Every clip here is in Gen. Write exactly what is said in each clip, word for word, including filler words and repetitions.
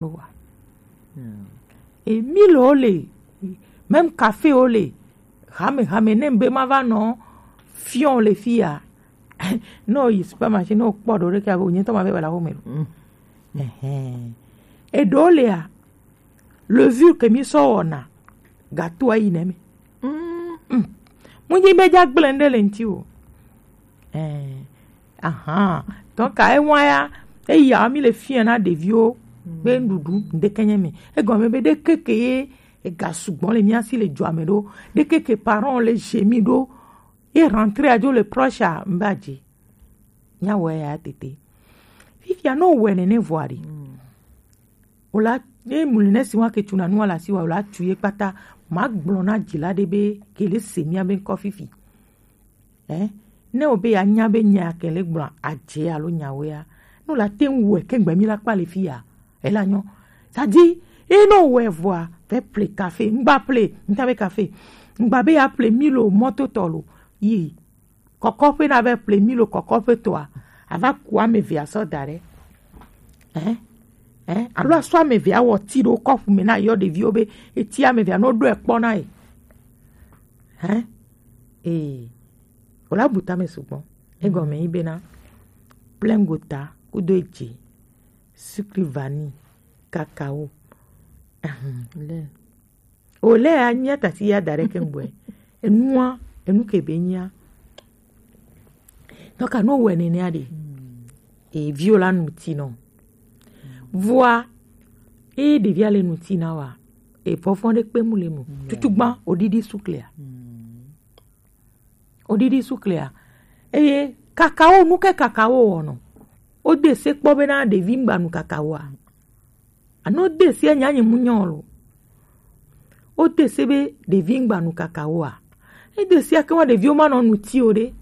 Wa. Hmm. Et mille o le, même café o le, hame hame ne be ma va nɔ fion le fia. No yi supermarché, no kpɔ ɖo ɖe ke abo nyetɔ ma be wala wo me. Hmm. Ehe. E ɖo le a, levure ke mi sɔ wɔna, gâteau ayi ne me. Hmm. Hmm. Mu nyi be ja gblẽ ɖe le ŋti o. Eh, ahan. Donc, à un mois, ya, eya, mi le fia na ɖeviwo be nuɖuɖu ŋɖeke nye me. Egɔme be ɖekeke ye ega sugbɔ le mía si le dua me ɖo. Ɖekeke parents le gemi ɖo. Ye rentrée adzo le proche a, mba dzi. Nya wɔ ya tete. Fifia no wɔ nene vɔa ɖi. Wòla ye mu ne si wa ke tuna nua la si wa wòla tu ye kpata. Ma gblɔ na dzila ɖe be ke le se mía be ŋkɔ fifi. Eh, ne o be ya nya be nya ke le gblɔ adze alo nyawoea, no la te ŋu wɛ ke gbe mi la kpa le fi ya. Ela nyɔ. Sadi, e no wɛ vɔa, ve ple café, ŋgba ple, ŋta be café. Ŋgba be ya ple milo mɔto tɔ lo. Yi, kɔkɔƒe na ve ple milo kɔkɔƒe tɔa. Ava ku ame ve asɔ da ɖe. Eh, eh, alo asɔ ame ve awɔ ti ɖo kɔpu me na yɔ ɖeviwo be, eti ame ve anɔ ɖo ekpɔ na ye. Hein? Ee, wòla bu tame sugbɔ. Egɔme yi bena, plein gota, kudo edzi, sucre vanille, cacao. Ahem. Le. O le a nya tasi ya da ɖe ke ŋgbɔe. Enua, enu ke be nya. Donc, no wɛ nene a ɖe. E viwo la nu ti nɔ. Vɔa, e ɖevia le nu ti na wa. E fɔfɔ ɖe kpe mu le mo. Tutu gban, o ɖiɖi sucre a. Oɖiɖi suklea. Eye kakao, nu ke kakao wɔnɔ? Wode se kpɔ bena ɖevi ŋgba nu kakaoa? Alo wode se nya nyi mu nyɔ lo? Wode se be ɖevi ŋgba nu kakaoa? Ede se ake wa ɖeviwo ma nɔ nu ti o ɖe.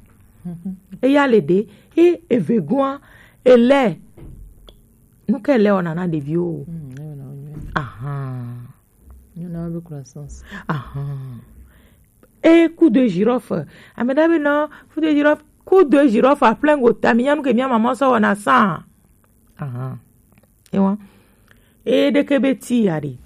Eya le ɖe. E eve goa, ele. Nu ke ele wɔna na ɖeviwo o? Ahan. Ahan. E coup de girofle. Ame ɖe be non, coup de girofle, coup de girofle à plein gota, mi nya nu ke mia maman sɔ wɔna sa. Ahan. E wa. E ɖeke be ti ya ɖe.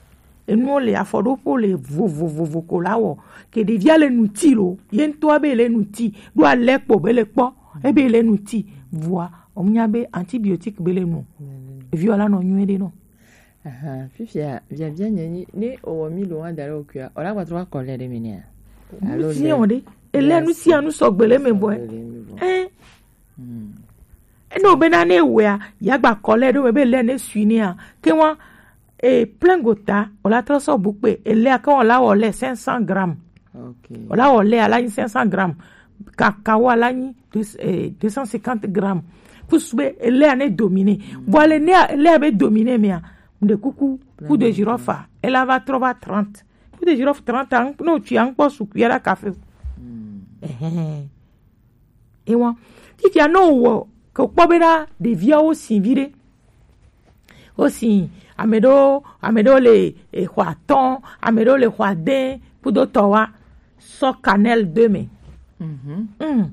Enuwo le afɔɖoƒo le vovovovo ko la wɔ. Ke ɖevia le nu ti lo. Ye ŋutɔa be le nu ti. Ɖo alɛ kpɔ be le kpɔ. Ebe le nu ti. Vɔa, o nya be antibiotique be le nu. Eviwo la nɔ nyuie ɖe nɔ. Ahan, fifia, biabia nye nyi, ne owɔ milo wa da ɖe wokua, o la gba trɔ wa kɔ lɛ ɖe mi nɛa? Alo nu si le o ɖe, ele nu sia nu sɔgbe le me bɔe. Sɔgbe le me bɔ. Eh. Hmm. Eno bena ne wea, ya gba kɔ lɛ ɖo me be le ne sui nea. Ke wa, e plein gota, o la trɔ sɔ bu kpe, ele a ke o la wɔ le cinq cents grammes. Ok. O la wɔ le a la nyi cinq cents grammes. Kakao a la nyi deux, eh, deux cent cinquante grammes. Kusu be ele a ne domine. Bon, ale ne a, ele a be domine mea, mde kuku, coup de girofle, ele a va trɔ va trente. Coup de girofle trente, an, no, tu an kpɔ su cuillère à café. Ehe. E wa. Fifia no wɔ, ke kpɔ bena ɖeviawo si viɖe. Wosi, ame ɖewo, ame ɖewo le, eh, xɔ atɔ̃, ame ɖewo le xɔ ade, kudo tɔ wa, sɔ cannelle do me. Mm.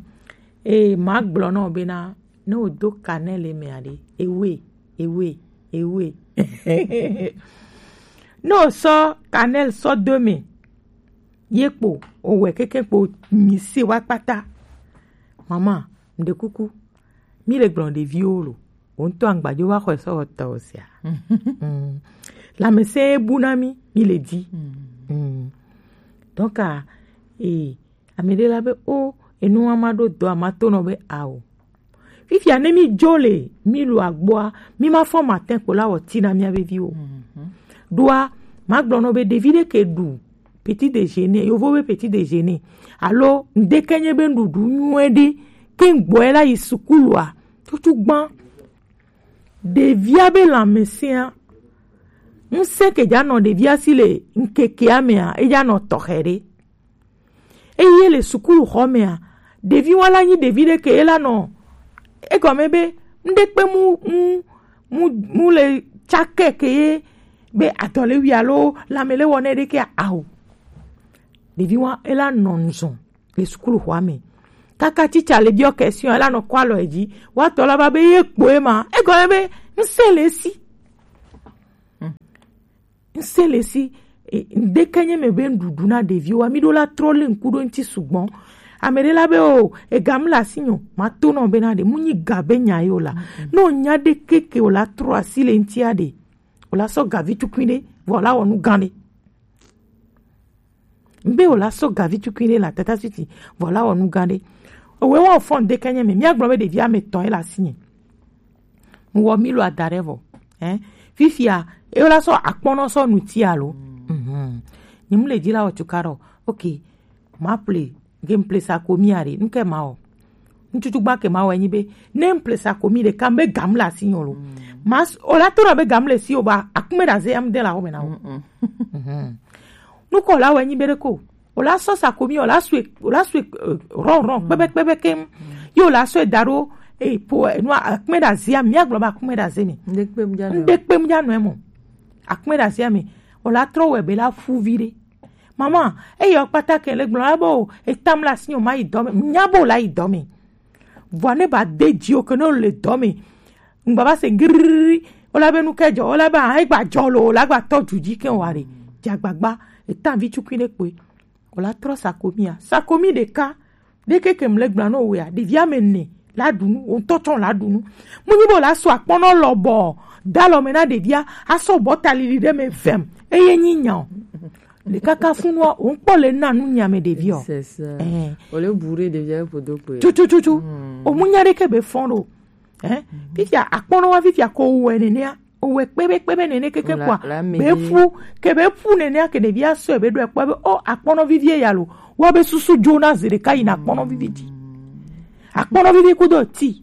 E ma gblɔ nɔ bena, ne wodo cannelle me aɖe, ewe, ewe, ewe. Ne wosɔ cannelle sɔ do me, ye kpo, owɛ keke kpo, mi se wa kpata. Mama, mde kuku, mi le gblɔ ɖeviwo lo. Wo ŋutɔ agbadzo va xɔe sɔ wɔ tɔ sia. Mm. Lãmesẽ bu na mí, mí le di. Mm. Donc, a, e, ame ɖe la be, o, enu wa ma ɖo dɔ a ma to nɔ be ao. Fifia ne mí dzo le, mí lo agboa, mí ma fɔ matin kpo la wɔ ti na mía be viwo. Ɖoa, ma gblɔ nɔ be ɖevi ɖe ke ɖu petit déjeuner, yovo be petit déjeuner. Alo, ŋɖeke nye be nuɖuɖu nyuie ɖe, ke ŋgbɔe la yi sukulua, tutu gbã. Ɖevia be lãmesẽa, ŋusẽ ke dza nɔ ɖevia si le ŋkekea mea, edza nɔ tɔxɛ ɖe. Eye le sukulu xɔ mea, ɖevi wa la nyi ɖevi ɖe ke ela nɔ, egɔme be, ŋɖekpe mu, mu, mu, mu le tsake ke ye be adɔ le wi alo lãme le wɔ ne ɖe ke ao. Ɖevi wa ela nɔ nuzɔn le sukulu xɔa me. Kaka tsitsa le biɔ question, ela nɔ kɔ alɔ edzi. Wa tɔ la va be ye kpo ema. Egɔme be ŋusẽ le esi. Ŋse le si, e, ŋdeke nye me be ŋɖuɖu na ɖeviwo wa, mi ɖo la trɔ le ŋku ɖo ŋti sugbɔ. Ame ɖe la be o, ega mu le asi nyo, ma to nɔ be na ɖe, mu nyi ga be nya ye o la. No nya ɖe keke o la trɔ asi le ŋti a ɖe, o la sɔ gavi tukui ɖe, vɔ o la wɔ nu gan ɖe. Ŋbe o la sɔ gavi tukui ɖe la tata suti, vɔ o la wɔ nu gan ɖe. Owe wɔ fɔ ŋdeke nye me, mi agblɔ be ɖevi ame tɔ ye le asi nye. Ŋwɔ mi lo ada ɖe vɔ. Hein? Fifia, e la sɔ akpɔnɔ sɔ nuti alo. Mhm. Ni mu le di la o tuka ɖo. Ok. Ma ple, ge m ple sa ko mi are. Nke ma o. Ntutu gba ke ma o enyi be. Ne m ple sa ko mi de kam be gam la si nyolo. Ma s-, o la to na be gam le si o ba. Akume da ze am de la o me na o. Mhm. Nuko la o enyi be de ko. O la sɔ sakomi, o la sue, o la sue, eh, rɔn, rɔn, kpɛbɛ, kpɛbɛ keŋ. Ye o la sɔe da ɖo, eh, po, eh, nua, akpɛ ɖe azia, mia gblɔ be akpɛ ɖe aze me. Ŋɖe kpe mu dza nɔ. Ŋɖe kpe mu dza nɔ emo. Akpɛ ɖe azia me. O la trɔ wɛ be la fu vi ɖe. Mama, eye o kpata ke le gblɔ la be o, etam la si o ma yi dɔ me. Nya be o la yi dɔ me. Vɔa ne ba de dzi o ke ne o le dɔ me. Ŋgba va se grrrr. O la be nu ke dzɔ, o la be, ah, egba dzɔ lo, o la gba tɔ du dzi ke wa ɖe. Dze agbagba, eta vi tukui ɖe kpoe. O la trɔ sakomia. Sakomi ɖeka. Ɖe keke mle gbla no wea, ɖevi ame ne la ɖu nu, o ŋutɔ tsɔ la ɖu nu. Mu nyi be o la sɔ akpɔnɔ lɔbɔ, da lɔ me na ɖevia, asɔ bɔta lili ɖe me vem. Eye nyi nya o. Le kaka funua, o ŋkpɔ le na nu nya me ɖevi o. C'est ça. Eh. O le bourré ɖevia ƒodo kpoe. Tutututu. Hmm. O mu nya ɖe ke be fɔn ɖo. Eh? Fifia, akpɔnɔ wa fifia ko wɛ nenea. O wɛ kpebe kpebe nene keke la, kpoa. La me be fu, ke be fu nenea ke ɖevia sɔe be ɖo ekpɔ be, o, akpɔnɔ vivie ya lo. Wa be susu jo na zi ɖeka yi na akpɔnɔ vivi di. Akpɔnɔ vivi kudo ti.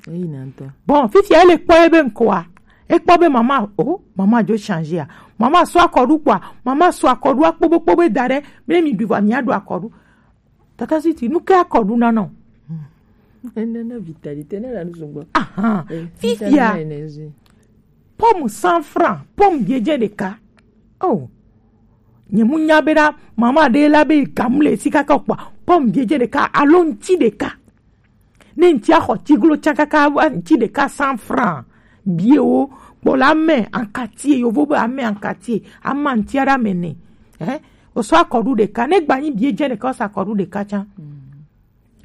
Eyi na ŋutɔ. Bon, fifia ele kpɔ ebe ŋkɔa. Ekpɔ be mama, o, mama jo changer a. Mama sɔ akɔɖu kpoa. Mama sɔ akɔɖu akpobo kpobe da ɖe. Be mi ɖu va mi aɖu akɔɖu. Tata Siti, nu ke akɔɖu na nɔ? Enana vitalité na la nu sugbɔ. Ahan. Eh, fifia. Vitamine énergie. Pomme cent francs, pomme biedze ɖeka. Oh. Nye mu nya be ɖa, mama ɖe la be gamu le si kaka kpɔa. Pomme biedze ɖeka, alo ŋti ɖeka. Ne ŋti axɔ tiglo tsã kaka, ŋti ɖeka cent francs. Biewo, kpɔ la ame ankatie, yovo be ame ankatie, ama ŋti aɖe ame ne. Eh? O sɔ akɔɖu ɖeka, ne gba nyi bie dze ɖeka, o sɔ akɔɖu ɖeka tsã.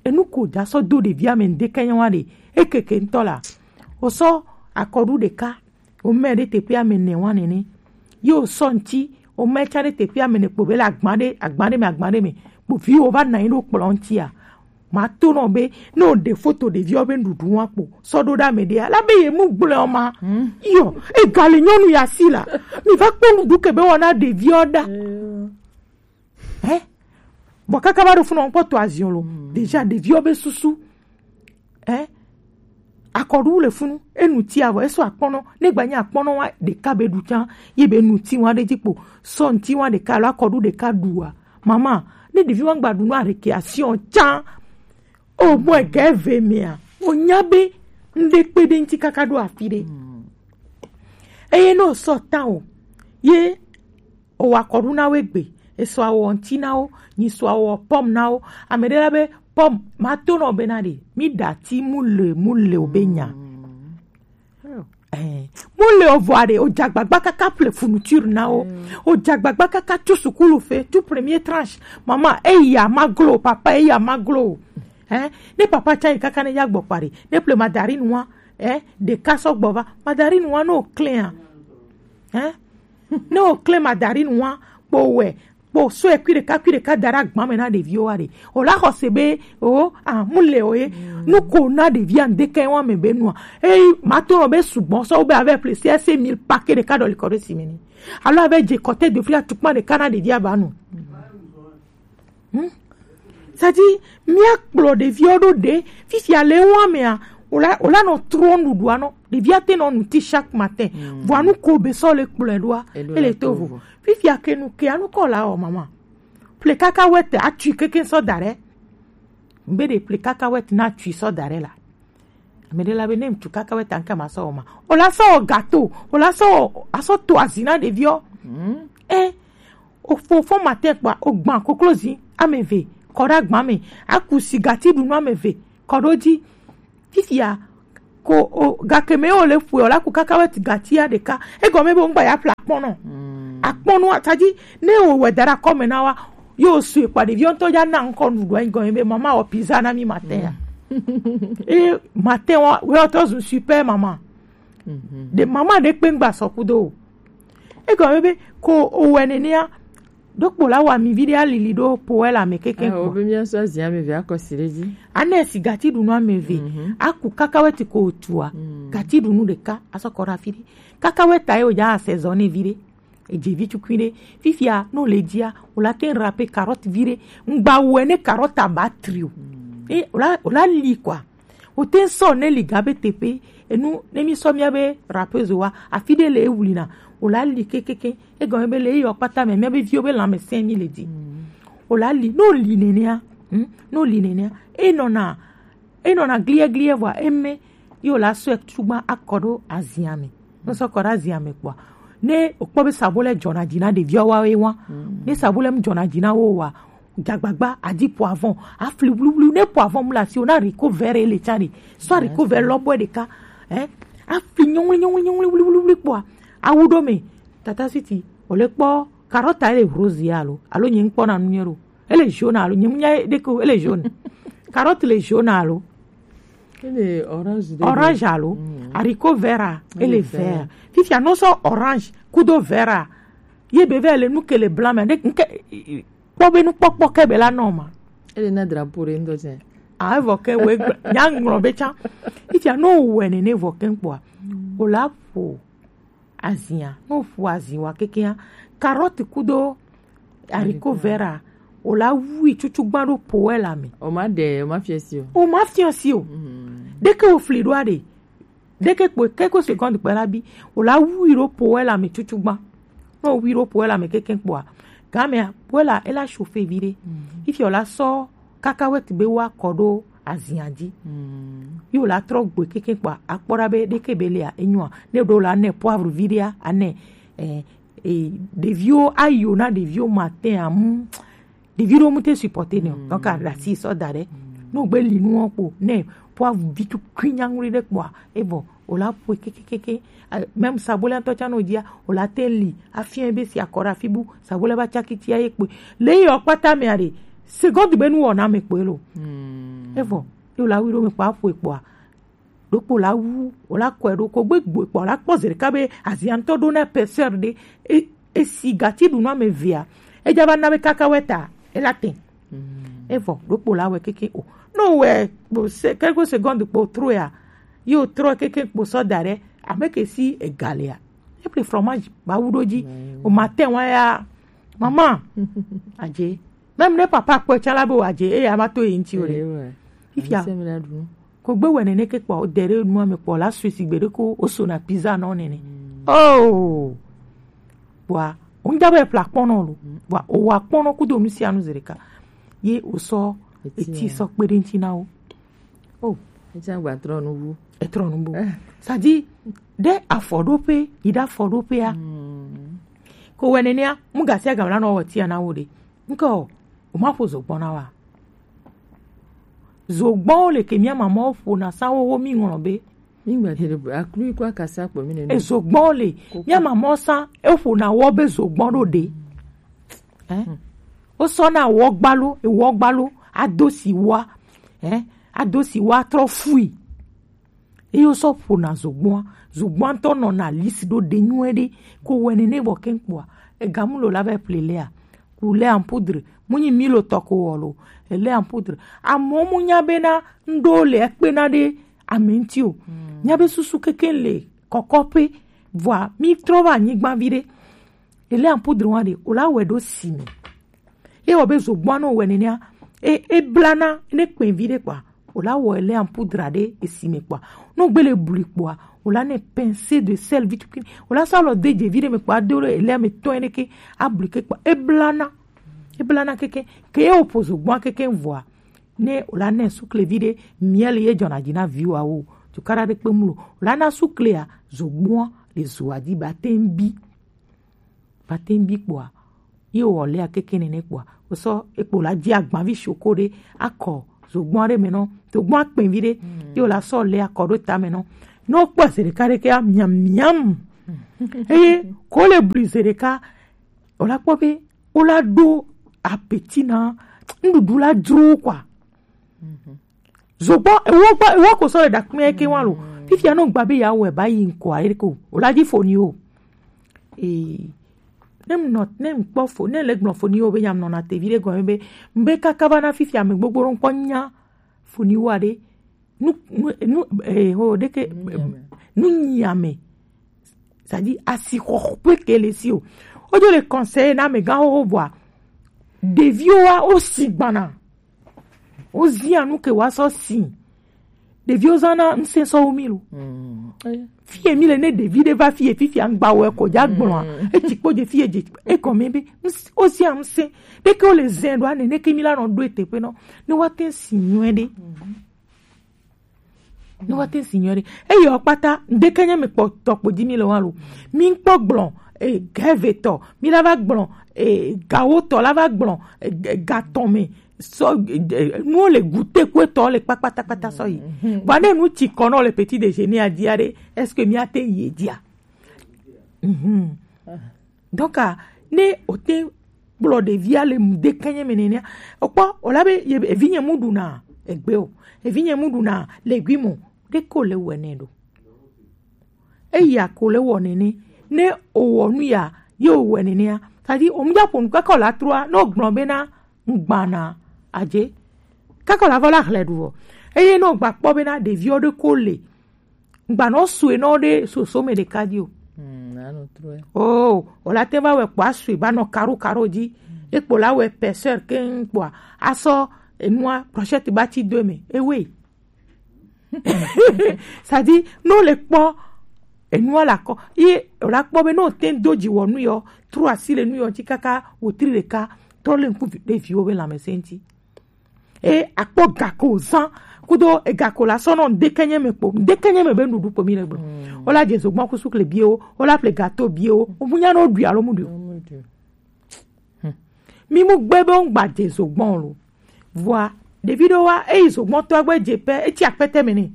Enu ko da sɔ do ɖevia me ŋdeke nyawa ɖe, ekeke ŋutɔ la. O sɔ akɔɖu ɖeka, o mɛ ɖe teƒe ame ne wa nene. Ye o sɔ ŋti, o mɛ tsã ɖe teƒe ame ne kpo be le agba ɖe, agba ɖe me, agba ɖe me. Kpo vi wo va na yi ɖo kplɔ ŋtia. Ma to nɔ be, ne o ɖe foto ɖeviwo be nuɖuɖu wa kpo, sɔ ɖo ɖe ame ɖea, la be ye mu gblɔ ma. Yo, e ga le nyɔnu ya si la. Mi va kpɔ nuɖuɖu ke be wɔna ɖeviwo ɖa. Eh? Bon, kaka va ɖo funu kpɔ to azion lo. Déjà, ɖeviwo be susu. Eh? Akɔɖu le funu, enu ti avɔ, eso akpɔnɔ, ne gba nye akpɔnɔ wa ɖeka be ɖu tsã, ye be nu ti wa ɖe dzi kpo, sɔ ŋti wa ɖeka alo akɔɖu ɖeka ɖu wa. Mama, ne ɖevi wa gba ɖu nu a récréation tsã, o mɔ ege ve mea, o nya be ŋɖe kpe ɖe ŋti kaka ɖo afi ɖe. Eye ne o sɔ ta o, ye o wa kɔɖu na wo egbe, e sɔ awɔ ŋti na wo, nyi sɔ awɔ pomme na wo. Ame ɖe la be pomme, ma to nɔ be na ɖe, mi ɖa ti mu le, mu le o be nya. Eh, mu le o vɔ aɖe, o dze agbagba kaka ple fourniture na wo. O dze agbagba kaka tu sukulu fe, tu premier tranche. Mama, eya ma glo, papa, eya ma glo. Eh, ne papa tsã yi kaka ne ya gbɔ kpa ɖe, ne ple mandarine wa, eh, ɖeka sɔ gbɔ va, mandarine wa no klea. Eh? Ne o klẽ mandarine wa, kpo wɛ, kpo sɔe kui ɖeka, kui ɖeka da ɖe agba me na ɖeviwo wa ɖe. O la xɔ se be, o, a, mu le o ye. Nu ko na ɖevia ŋdeke wa me be nua. Eyi, ma to nɔ be sugbɔ sɔ wo be avec plaisir, se mille paquet ɖeka ɖɔ li kɔ ɖe si me ni. Alo avec je kɔte de fria tukpa ɖeka na ɖevia ba nu. Hmm? C'est-à-dire, mia kplɔ ɖeviwo ɖo ɖe, fifia le wa mea, o la, o la nɔ trɔ nuɖuɖua nɔ. Ɖevia te nɔ nu ti chaque matin. Vɔa nu ko be sɔ le kplɔe ɖoa, ele to vo. Fifia ke nu ke anu kɔ la o mama. Ple kaka wɛ te atui keke sɔ da ɖe. Mbe ɖe ple kaka wɛ te na atui sɔ da ɖe la. Ame ɖe la be ne ŋutsu kaka wɛ ta ŋke ma sɔ wɔ ma. O la sɔ wɔ gato, o la sɔ wɔ, asɔ to azi na ɖeviwo. Eh, o fo fo matin kpa, o gban koklozi ame eve, kɔ ɖe agba me, aku si gati ɖu nu ame eve, kɔ ɖo dzi. Fifia, ko o gake me o le fue, o la ku kaka wɛ ti gatia ɖeka. Egɔme be ŋgba ya ƒle akpɔnɔ. Akpɔnu atadi ne o wɛ dara kɔme na wa yo su ekpa ɖevi ŋutɔ ya na ŋkɔ nuɖuɖu anyi gɔme be mama wɔ pizza na mi matin ya. E matin wa wɛ ɔtɔ zu super mama. De mama ɖe kpe ŋgba sɔ kudo o. Egɔme be ko o wɛ nenea ɖokpo la wa mi vi ɖe alili ɖo po wɛ la me keke. Ah, kpɔ obe mia sɔ azia me ve akɔ si ɖe dzi. Ane si gati ɖunu ame ve. Aku kaka wɛ ti ko otua. Gati ɖunu ɖeka asɔ kɔ ɖe afi ɖe. Kaka wɛ ta ye o ja saison ne vi ɖe. Edze vi tukui ɖe. Fifia no le dzia o la te rape carotte vi ɖe. Ŋgba wɛ ne carotte aba trio. E o la o la li quoi. O te sɔ ne li gabe teƒe enu ne mi sɔ mia be rapeuse wa afi ɖe le ewlina o la li kekeke. Egɔme be le eyɔ kpata me mia be viwo be lãmesẽ mi le di. O la li no li nenea. Hmm? No li nenea enɔna enɔna gliɛ gliɛ vɔa eme yo la sɔe tugba akɔ ɖo azia me. No sɔ kɔ ɖo azia me kpɔa ne okpɔ be sabo le dzɔna dzi na ɖeviawo wa ye wa. Ne sabo le mu dzɔna dzi na wo wa gagbagba adi poivron afli wluwlu ne poivron mu le asi o na riko vɛrɛ le tsa ɖe sɔ riko vɛrɛ lɔbɔe ɖeka. Eh, afli nyɔŋli nyɔŋli nyɔŋli wluwlu kpɔa awu ɖo me tata siti o le kpɔ karɔta ele rose ya alo alo nye ŋkpɔ na nu nye ɖo ele jaune alo nye mu nya ɖeke o ele jaune. Carotte le jaune alo Ele orange de orange alo haricot vert a ele vert. Fifia no sɔ orange kudo vert a ye be vɛ le nu ke le blanc me ne nke kpɔ be nukpɔkpɔ ke be la nɔ ma. Ele na drapeau ɖe ŋdɔ tsɛ. Ah, evɔ ke wo egbe nya ŋlɔ be tsã. Fifia no wɛ nene vɔ ke kpɔa o la ƒo azia no ƒo azi wa kekea carotte kudo haricot vert a o la wui tutu gba ɖo po wɛ la me. O ma ɖe o ma fiɔ si o. O ma fiɔ si o. Ɖeke o fli ɖo aɖe ɖeke kpo keko seconde kpe la bi o la wui ɖo po wɛ la me tutu gba. No wui ɖo po wɛ la me keke kpɔa gamea po wɛ la e la chauffe vi ɖe. Fifia o la sɔ kaka wɛ ti be wa kɔ ɖo azia dzi. Yo la trɔ gbe keke kpɔa akpɔ ɖa be ɖeke be lea enyoa ne ɖo la ne poivre vi ɖea ane eh, eh, ɖeviwo ayo na ɖeviwo matin amu ɖevi ɖewo mu te supporter ne o donc aɖasi sɔ da ɖe no gbe li nuwo kpo ne poivre vi tukui nyangui ɖe kpɔa evɔ o la ƒoe kekekeke. Même sabole ŋutɔ tsã no dzia o la te li afia be si akɔ ɖe afi bu sabole ba tsaki tia ye kpoe le yɔ kpata mea ɖe seconde be nu wɔna me kpoe lo. Evɔ yo la wi ɖo me kpa ƒoe kpɔa ɖokpo la wu o la kɔe ɖo ko gbe gboe kpɔ la kpɔ zi ɖeka be azia ŋutɔ ɖo na épaisseur ɖe e- esi gati ɖu nu ame evea edza va na be kaka wɛ ta e la te. Evɔ ɖokpo la wɛ keke o no wɛ kpo se keko seconde kpo tro ya yo trɔ keke kpo sɔ da ɖe ame ke si egalea eple fromage ba wu ɖo dzi o ma te wa ya mama adze même ne papa kpɔe tsã la be wòadze eye ama to yi ŋuti o ɖe. Fifia ko gbe wɛ nene ke kpɔ de ɖe nua me kpɔ la sue si gbe ɖe ko o so na pizza nɔ nene. Oh, kpɔa o ŋdza be ƒle akpɔnɔ lo kpɔa o wa akpɔnɔ kudo nu sia nu zi ɖeka ye o sɔ eti sɔ kpe ɖe ŋuti na wo. Oh, etsã gba trɔ nu wu. Etrɔ nu bu sadi ɖe afɔɖoƒe yi ɖe afɔɖoƒea ko wɛ nenea mu gasi agam la nɔ wɔ tia na wo ɖe ŋkɔ o ma ƒo zogbɔn na wa. Zogbɔnwo le ke mía mamawo ƒona sa wowo mi ŋlɔ be mi gba te aklu ko akasa kpɔ mi ne ezogbɔnwo le mía mamawo sa eƒona wɔ be zogbɔn ɖo ɖe. Wosɔna wɔgbalo ewɔgbalo ado si wa ado si wa trɔ fui. Eye wosɔ ƒona zogbɔa zogbɔa ŋutɔ nɔna lisi ɖo ɖe nyuie ɖe ko wɛ nene vɔ keŋkpɔa egamu lo la va ƒle lea ku lait en poudre mu nyi milo tɔ ko wɔ lo lait en poudre. Amewo mu nya bena ŋɖewo le ekpena ɖe ame ŋuti o. Nya be susu keke le kɔkɔƒe vɔa mi trɔ va anyigba vi ɖe lait en poudre wa ɖe o la wɛ ɖo si me. Ye wɔ be zogbɔa no wɛ nenea e e blana ne kpɛn vi ɖe kpɔa o la wɔ lait en poudre ɖe esi me kpɔa no gbele bli kpɔa o la ne pincée de sel vi tukui o la sa lɔ de dze vi ɖe me kpɔa do ɖe lait me tɔn ɖe ke abli ke kpɔa e blana e blana keke ke ye o po zogbɔa keke vɔa ne o la ne sukle vi ɖe miel ye dzɔna dzi na viwa wo tukara ɖe kpe mu lo o la na suklea zogbɔa le zoa dzi ba te bi. Ba te ŋ bi kpɔa ye wɔ lea keke nene kpɔa wosɔ ekpo la dzi agbavi shoko ɖe akɔ zogbɔn ɖe me nɔ zogbɔn akpɛvi ɖe ye wòle asɔ lea kɔ ɖo ta me nɔ ne wokpɔ zi ɖeka ɖe ke miam miam eye ko le bli zi ɖeka O la kpɔ be o la ɖo apeti na nuɖuɖu la dzro kwa. Zogbɔ ewo gba ewo ko sɔ le ɖakpɛ ke wa lo. Fifia no gba be ya wɛ ba yi ŋkɔ ayi ko o la dzi fo ni o. Ee, ne m nɔ ne m kpɔ fo ne le gblɔ fo ni o be nya m nɔ na tevi ɖe gɔme be m be kaka va na fifia me gbogbo ɖo ŋkpɔ nya fo ni wa ɖe nu nu nu eh, ho ɖeke nu nyiame. C'est-à-dire asixɔxɔƒe ke le si o. Wodzo le conseiller na amegã xoxo vɔa ɖeviwo wa wo si gbana. Wo zia nu ke wa sɔ si. Ɖeviwo zana ŋsɛ sɔ wo mi lo. Fie mi le ne ɖevi ɖe va fie fifia ŋgba wɔ ekɔ dza gblɔa. Etsi kpo dze fie dze ekɔ mi be ŋs- wo zia ŋsɛ. Ɖeke wo le zɛ ɖo ane ne ke mi la nɔ ɖo eteƒe nɔ ne wa te si nyuie ɖe. Ne wa te si nyuie ɖe. Eye wo kpata ŋdeke nye mi kpɔ tɔ kpo dzi mi le wa lo. Mi ŋkpɔ gblɔ e gɛve tɔ mi la va gblɔ e gawo tɔ la va gblɔ e ga tɔ me sɔ nuwo le gute ku etɔ le kpakpatakpata sɔ yi. Vɔa ne nu tsi kɔ nɔ le petit déjeuner a dzia ɖe, est-ce que mi ate yi edzia? Donc ne o te kplɔ ɖevia le mu de kenye me nenea, o kpɔ o la be evinye mu ɖuna egbe o, evinye mu ɖuna legume o, ɖe ko le wɔ nɛ ɖo. Eya ko le wɔ nene. Ne o wɔ nu ya ye o wɔ nenea, c'est-à-dire o mu dza ƒo nu kaka o la trua ne o gblɔ bena ŋgbana adze kaka o la vɔ la hlɛ ɖu vɔ. Eye ne o gba kpɔ bena ɖeviwo ɖe ko le ŋgba nɔ sue nɔ ɖe soso me ɖeka dzi o. Oh, o la te va wɛ kpɔ asue ba nɔ karo karo dzi. Ekpo la wɛ pɛsɛr keŋ kpɔa asɔ enua prochette ba tsi do eme ewe. C'est-à-dire ne o le kpɔ enua la kɔ ye o la kpɔ be ne o te do dzi wɔ nu yɔ tro asi le nu yɔ ŋti kaka wotri ɖeka tɔ le ŋku ɖe viwo be lãmesẽ ŋti. E akpɔ gako zan kudo egako la sɔ nɔ ŋdekenye me kpo ŋdekenye me be nuɖuɖu kpo mi le gblɔ. O la dze zogbɔn kusu kle biewo, o la ple gato biewo, o mu nya no ɖui alo mu ɖui o. Mi mu gbe be ŋgba dze zogbɔn lo. Vɔa ɖevi ɖewo wa eyi zogbɔn tɔ gbe dze pɛ etsi akpɛtɛ me ne.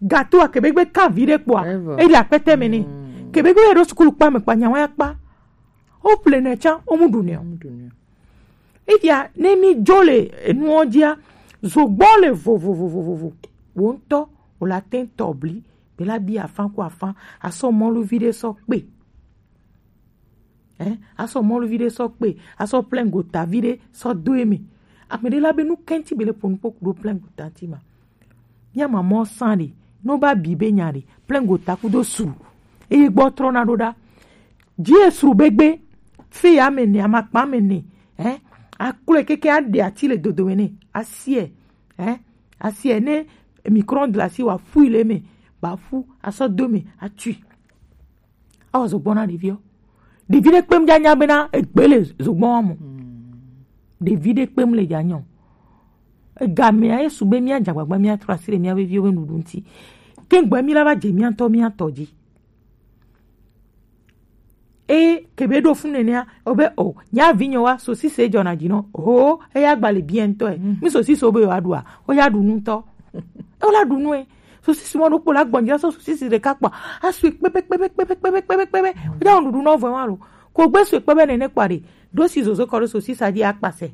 Gato a kebe gbe kan vi ɖe kpɔa eyi akpɛtɛ me ne. Kebe gbe ɖo sukulu kpa me kpa nyawa ya kpa. O ple ne tsa o mu ɖu ne o. Eya ne mi dzo le enuwo dzia zogbɔ le vovovovovovo wo ŋutɔ o la te tɔ bli be la bi afã ku afã asɔ mɔluvi ɖe sɔ kpe. Ɛ asɔ mɔluvi ɖe sɔ kpe asɔ plein gota vi ɖe sɔ do eme. Ame ɖe la be nu kɛnti be le ƒo nu kpo ku ɖo plein gota ŋti ma. Mía mamɔ sã ɖe, no ba bi be nya ɖe, plein gota kudo sru. Eye gbɔ trɔna ɖo ɖa. Dzi esru be gbe, fe ya me ne, amakpa me ne, hein? Akplɔe keke aɖe ati le dodome ne, asiɛ, hein? Asiɛ ne micro-ondes le asi wa fui le eme, ba fu, asɔ do me, atui. Awɔ zogbɔn na ɖeviwo. Ɖevi ɖe kpem dza nya bena egbe le zogbɔn wa mo. Ɖevi ɖe kpem le dza nyɔ. Egamea ye su be mía dze agbagba mía trɔ asi ɖe mía veviwo be nuɖuɖu ŋuti. Ke ŋgbɔ mí la va dze mía ŋutɔ mía tɔ dzi. Eye kebe ɖo fun nenea, o be o, nya vi nyɔ wa, sosise dzɔna dzi nɔ. O, eya gba le bien ŋutɔ e. Mi sosise wo be yewoa ɖua, o ya ɖu nu ŋutɔ. E wo la ɖu nu e. Sosisi mɔ ɖo kpo la gbɔn dzi la sɔ sosisi ɖeka kpɔ. Asui kpebe kpebe kpebe kpebe kpebe kpebe. Wodza wɔ nuɖuɖu nɔ vɔ wa lo. Ko gbe sue kpebe nene kpɔ ɖe. Ɖo si zozo kɔ ɖo sosisa dzi akpasɛ.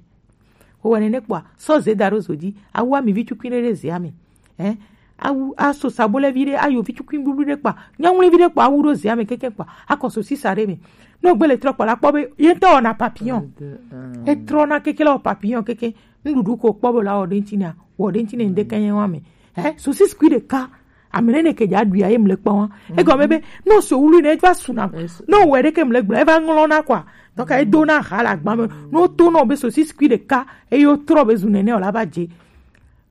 Wowɔ nene kpɔa, sɔ ze da ɖo zo dzi. Awu ami vi tukui ɖe ɖe zea me. Ɛ? Awu aso sabolɛ vi ɖe, ayo vi tukui bublu ɖe kpɔa. Nyɔnuli vi ɖe kpɔa, awu ɖo zea me keke kpɔa. Akɔ sosisa ɖe me. No gbe le trɔ kpɔ la kpɔ be, ye ŋutɔ wɔna papillon. Etrɔna keke la wɔ papillon keke. Nuɖuɖu ko kpɔ be la wɔ ɖe ŋuti nea, wɔ ɖe ŋuti ne ŋɖe kɛnyɛ wa me. Ɛ, sosis kui ɖeka. Ame ɖe ne ke dza ɖui aye mle kpɔ wa. Egɔme be, no so wulu ne va suna. No wɛ ɖe ke mle gblɔ, eva ŋlɔ na kwa. Donc e do na ha la gba me. No to no be sosis kui ɖeka, eye wo trɔ be zu nene o la va dze.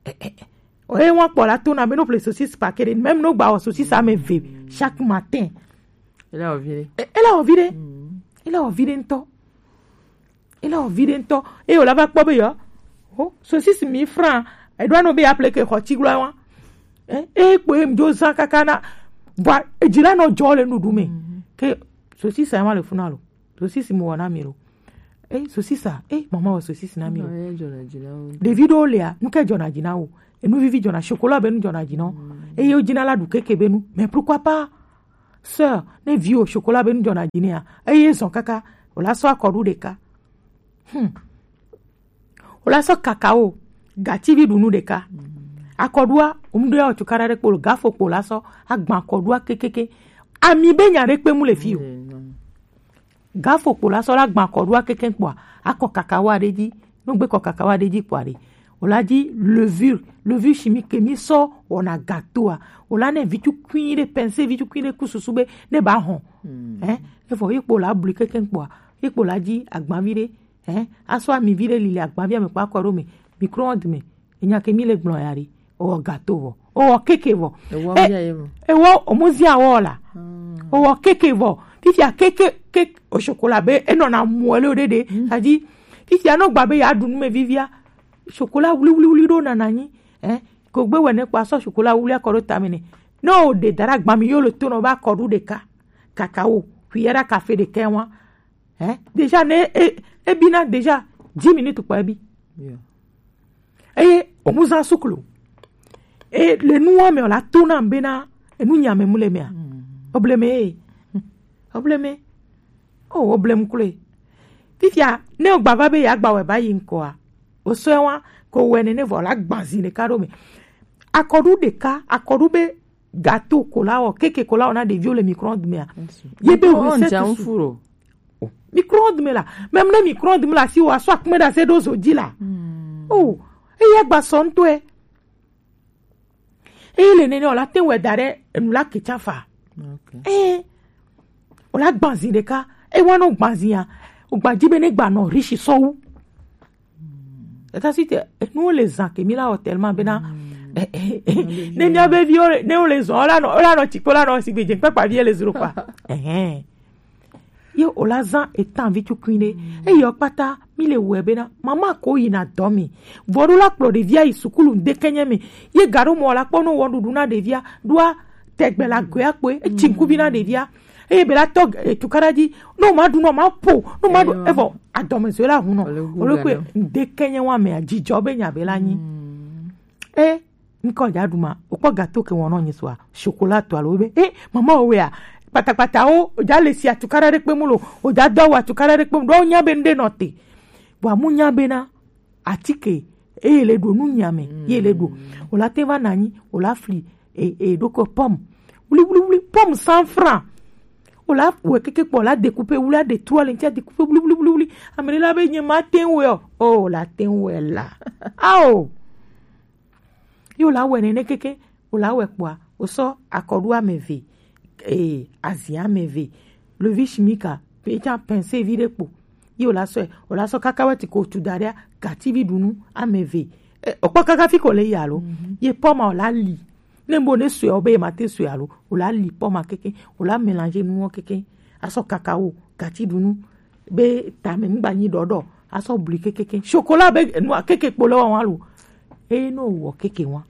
Ɛ, ɛ, ɛ. Oye wa kpɔ la to na be no ple sosis paquet ɖe, même no gba wɔ sosis ame eve chaque matin. Ele wɔ vi ɖe. E, ele wɔ vi ɖe. Ele wɔ vi ɖe ŋutɔ. Ele wɔ vi ɖe ŋutɔ. Eye wòla va kpɔ be yɔ. O, sosis mi fran. Eɖo anɔ be aple ke xɔ tsi gblɔ wa. E, e kpo ye ŋdzo zã kaka na. Vɔa, edzi la nɔ dzɔ le nuɖuɖu me. Ke sosis ya ma le funa lo. Sosis mo wɔ na mi lo. E, sosis a. E, mama wɔ sosis na mi lo. Ɖevi ɖewo lia, nu ke dzɔna dzi na wo. Enu vivi dzɔna, chocolat be nu dzɔna dzi na wo. Eye wo dzina la ɖu keke be nu. Mais pourquoi pas? Sœur, ne vi o chocolat be nu jɔna dzi nea, eye zɔn kaka, o la sɔ akɔɖu ɖeka. Hmm. O la sɔ cacao, gativi ɖunu ɖeka. Akɔɖua, o mu ɖo ya o cukaɖa ɖe kpo lo, gafo kpo la sɔ agban akɔɖua kekeke. Ami be nya ɖe kpe mu le fi o. Gafo kpo la sɔ la gban akɔɖua keke kpoa, akɔ cacao ɖe dzi. No gbe kɔ cacao ɖe dzi kpoa ɖe, o la dzi levure, levure chimique ke mi sɔ wɔna gâteau a. O la ne vitsu kui ɖe, pince vitsu kui ɖe ku susu be ne ba hɔn. Hein? Efɔ ye kpo la blu keke kpoa, ye kpo la dzi agbanvi ɖe. Hein? Asɔ ami vi ɖe li le agbanvia me kpo akɔ ɖo me, micro-onde me. Enya ke mi le gblɔ ya ɖi. O wɔ gâteau vɔ. O wɔ keke vɔ. Ewɔ Eh, bia ye vɔ. Ewɔ o mu zia wɔ la. O wɔ keke vɔ. Fifia keke, keke o chocolat be enɔna muele o ɖeɖe. Adi. Fifia no gba be ya ɖu nu me vivia. Chocolat wuli wuli wuli ɖo nana nyi. Eh, ko gbe wɛ ne kpa sɔ chocolat wuli akɔ ɖo tame ne. No o ɖe dara gba mi yo le to nɔ ba kɔɖu ɖeka. Cacao. Cuillère à café ɖeka wa. Hein? Déjà, ne, e, e bina déjà dix minutes kpa e bi. Yeah. Eye o mu zan suklo. E le nua me o la to na be na enu nya me mu le mea. Obleme. Obleme. Oh, oblem kule. Fifia, ne o gba va be ya gba wɛ ba yi nkɔa. O sɔ wa ko wɛ ne ne vɔ la gbanzi ɖeka ɖo me. Akɔɖu ɖeka, akɔɖu be gâteau ko la wɔ, keke ko la wɔ na ɖeviwo le micro-onde mea. Ye be recette su. Micro-onde me la. Même ne micro-onde me la si wa sɔ akpɛ da se ɖo zo dzi la. Oh, eya gba sɔ ŋutɔe. Eye le nene o la te wɛ da ɖe enu la ke tsa fa. Eh, o la gbanzi ɖeka. E wa no gbanzi ya. O gbanzi be ne gba nɔ riche sɔwu. Eta si te, eh, nu le zan ke mi la wɔ tellement bena. Eh, eh, eh, ne mia be viwo le, ne wo le zɔn, o la nɔ, o la nɔ tsi kpo la nɔ si gbe dze kpakpa vie le zro kpa. Eh, eh. Ye o la zan etan vi tukui ɖe. Eyi o kpata mi le wɛ bena mama ko yina dɔ mi. Vɔ ɖo la kplɔ ɖevia yi sukulu ŋdeke nye me. Ye ga ɖo mɔ la kpɔ no wɔ ɖuɖu na ɖevia. Ɖoa tɛgbɛ la goe akpoe. Etsi ŋkuvi na ɖevia. Eye be la tɔ, eh, tukaɖa dzi. No ma ɖu, no ma po, no ma ɖu. Evɔ adɔmezɔe la hun nɔ. Ole kpe ŋdeke nye wa mea, dzidzɔ be nya be la nyi. Eh, ŋkɔ dza ɖu ma, o kpɔ gâteau ke wɔn nɔ nyi sua, chocolat to alo be, eh, mama o wea, kpatakpata o, o dza le si atukaɖa ɖe kpe mu lo, o dza do awu atukaɖa ɖe kpe mu, ɖo o nya be ŋɖe nɔ te. Vɔa mu nya be na, atike, eye le ɖo nu nya me, ye le ɖo. O la te va na nyi, o la fli, e, e, ɖo ko pomme. Wli, wli, wli, pomme cent francs. O la wɛ keke kpɔ, o la découper, wli, a détruire le ŋti, a découper, wli, wli, wli, wli. Ame ɖe la be nye ma te ŋu wɛ o. O, o la te ŋu wɛ la. Ao. Ye o la wɛ nene keke, o la wɛ kpoa, o sɔ akɔɖu ame eve, eh, azi ame eve, levi chimique a, pe tsa pince vi ɖe kpo. Ye o la sɔe, o la sɔ kaka wɛ ti ko tu da ɖea, gativi ɖunu ame eve. Eh, o kpɔ kaka fi ko le yi alo? Ye pomme a o la li. Ne bo ne sɔe o be ma te sɔe alo, o la li pomme a keke, o la mélanger nuwo keke. A sɔ cacao, gatiɖunu, be tame ŋgba nyi ɖɔɖɔ, a sɔ bli kekeke. Chocolat be nua keke kpo le wa wa lo. Eye no wɔ keke wa.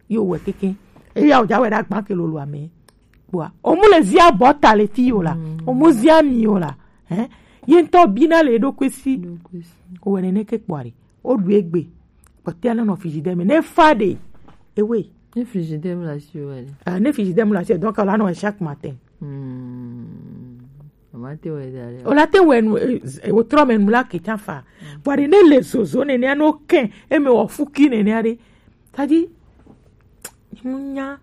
Yo wɛ keke. Eya o ja wɛ ɖe agba ke lolo ame. Kpoa, o mu le zia bɔ ta le fi yo la. O mu zia mi yo la. Hein? Ye ŋtɔ bi na le ɖo kwesi. O wɛ nene ke kpoa ɖe. O ɖu egbe. Kpɔtɛa ne nɔ frigidaire me. Ne fa ɖe. Ewe. Ne frigidaire me la si o wɛ. Ah, ne frigidaire me la si, donc, o la nɔ chaque matin. Hmm. Mama te wɛ da ɖe. O la te wɛ nu, eh, o trɔ me nu la ke tsa fa. Vɔa ɖe ne le zozo nene a no kɛ, e me wɔ fuki nene a ɖe. Tadi, mu nya.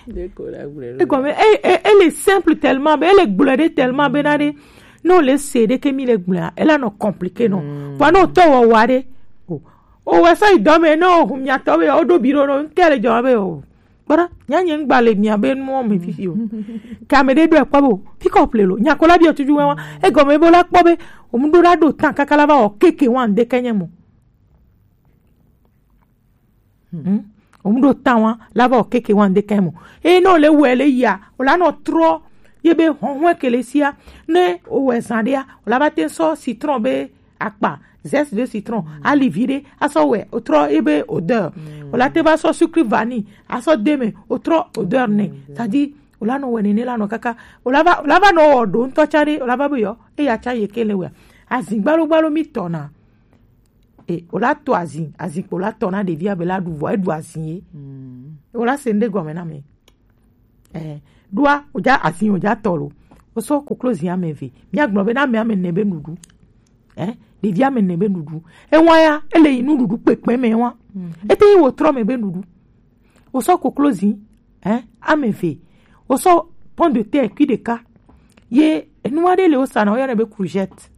Ɖe ko la gblɔ ɖo. Egɔme, e, e, ele simple tellement be, ele gblɔ ɖe tellement be na ɖe, ne o le se ɖe ke mi le gblɔa, ela nɔ compliqué nɔ. Vɔa ne o tɔ wɔ wa ɖe, o, o wɛ sɔ yi dɔ me, ne o hu mia tɔ be, o ɖo bi ɖo nɔ, ŋke le jɔ be o. Kpɔɖa, nya nye ŋgba le mia be nuwo me fifi o. Ke ame ɖe ɖo ekpɔ be o, fi kɔ ple lo, nya ko la bi o tuju wɛ wa. Egɔme be o la kpɔ be, o mu ɖo la ɖo tan kaka la va wɔ keke wa ŋde ke nye mo. Hmm. O mu ɖo tan wa, la va wɔ keke wa ŋde ke mo. Eye ne o le wɛ le yia, o la nɔ trɔ ye be hɔhɔe ke le sia. Ne o wɛ zan ɖea, o la va te sɔ citron be akpa, zeste de citron, ali vi ɖe, a sɔ wɛ, o trɔ ye be odeur. O la te va sɔ sucre vanille, a sɔ de me, o trɔ odeur nɛ. C'est-à-dire, o la nɔ wɛ nene la nɔ kaka, o la va, o la va nɔ wɔ ɖo ŋtɔ tsa ɖe, o la va be yɔ, eya tsa ye ke le wɛ. Azin gbalo gbalo mi tɔ na. E, o la to azin, azin kpo la tɔ na ɖevia be la ɖu vɔ, e ɖu azin ye. O la se ŋɖe gɔme na mi. Eh, Ɖoa, wòdza asin, wòdza tɔ lo. Wosɔ koklozi ame eve. Míagblɔ be na ame ame ene be nuɖuɖu. Eh, ɖevi ame ene be nuɖuɖu. Ewa ya, ele yi nuɖuɖu kpekpe me wa. Ete yi wòtrɔ me be nuɖuɖu. Wosɔ koklozi, eh, ame eve. Wosɔ pomme de terre kui ɖeka. Ye enu aɖe le wosa na, woyɔnɛ be courgette.